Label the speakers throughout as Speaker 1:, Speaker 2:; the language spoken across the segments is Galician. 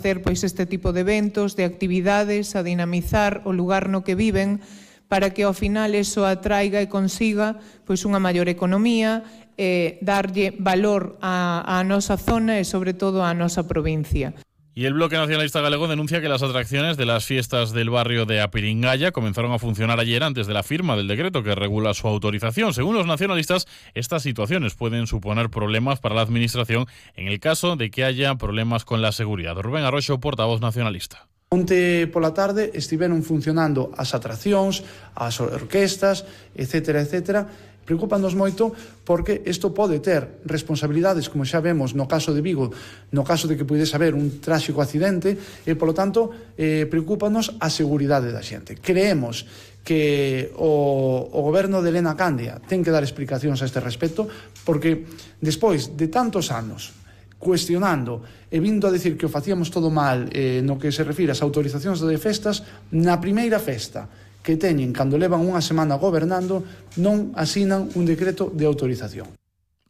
Speaker 1: hacer pois este tipo de eventos, de actividades, a dinamizar o lugar no que viven, para que ao final eso atraiga e consiga pois unha maior economía, darlle valor á nosa zona e sobre todo á nosa provincia.
Speaker 2: Y el Bloque Nacionalista Galego denuncia que las atracciones de las fiestas del barrio de Apiringaya comenzaron a funcionar ayer antes de la firma del decreto que regula su autorización. Según los nacionalistas, estas situaciones pueden suponer problemas para la administración en el caso de que haya problemas con la seguridad. Rubén Arroxo, portavoz nacionalista.
Speaker 3: Onte pola tarde estiveron funcionando as atraccións, as orquestas, etcétera, etcétera. Preocúpanos moito porque isto pode ter responsabilidades, como xa vemos no caso de Vigo, no caso de que puidese haber un tráxico accidente, e, polo tanto, preocúpanos a seguridade da xente. Creemos que o goberno de Elena Candia ten que dar explicacións a este respecto, porque despois de tantos anos cuestionando e vindo a decir que o facíamos todo mal no que se refire ás autorizacións de festas, na primeira festa que teñen cando levan unha semana gobernando non asinan un decreto de autorización.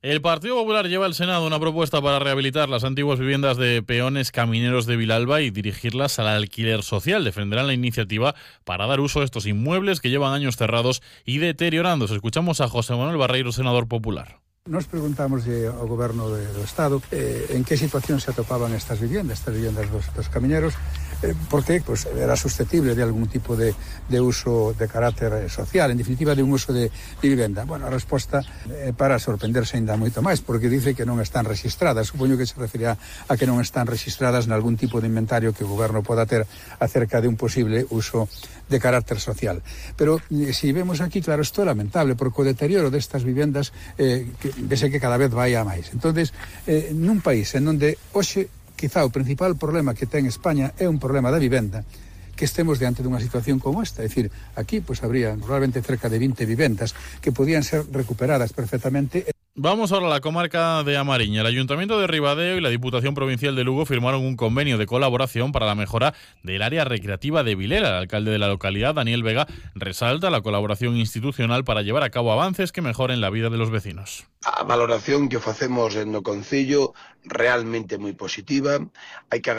Speaker 2: El Partido Popular lleva al Senado una propuesta para rehabilitar las antiguas viviendas de peones camineros de Vilalba y dirigirlas al alquiler social. Defenderán la iniciativa para dar uso a estos inmuebles que llevan años cerrados y deteriorándose. Escuchamos a José Manuel Barreiro, senador popular.
Speaker 4: Nos preguntamos ao Goberno do Estado en que situación se atopaban estas viviendas dos camiñeros, porque pues, era susceptible de algún tipo de uso de carácter social, en definitiva de un uso de vivenda. Bueno, a resposta para sorprenderse ainda moito máis, porque dice que non están registradas. Supoño que se referirá a que non están registradas nalgún tipo de inventario que o Goberno poda ter acerca de un posible uso de carácter social. Pero si vemos aquí, claro, isto é lamentable, porque o deterioro destas vivendas vese que cada vez vai a máis. Entonces, nun país en onde hoxe quizá o principal problema que ten España é un problema da vivenda, que estemos diante dunha situación como esta. É dicir, aquí pues habría probablemente cerca de 20 vivendas que podían ser recuperadas perfectamente.
Speaker 2: Vamos ahora a la comarca de Amariña. El Ayuntamiento de Ribadeo y la Diputación Provincial de Lugo firmaron un convenio de colaboración para la mejora del área recreativa de Vilela. El alcalde de la localidad, Daniel Vega, resalta la colaboración institucional para llevar a cabo avances que mejoren la vida de los vecinos.
Speaker 5: A valoración que facemos no concello realmente moi positiva. Hai que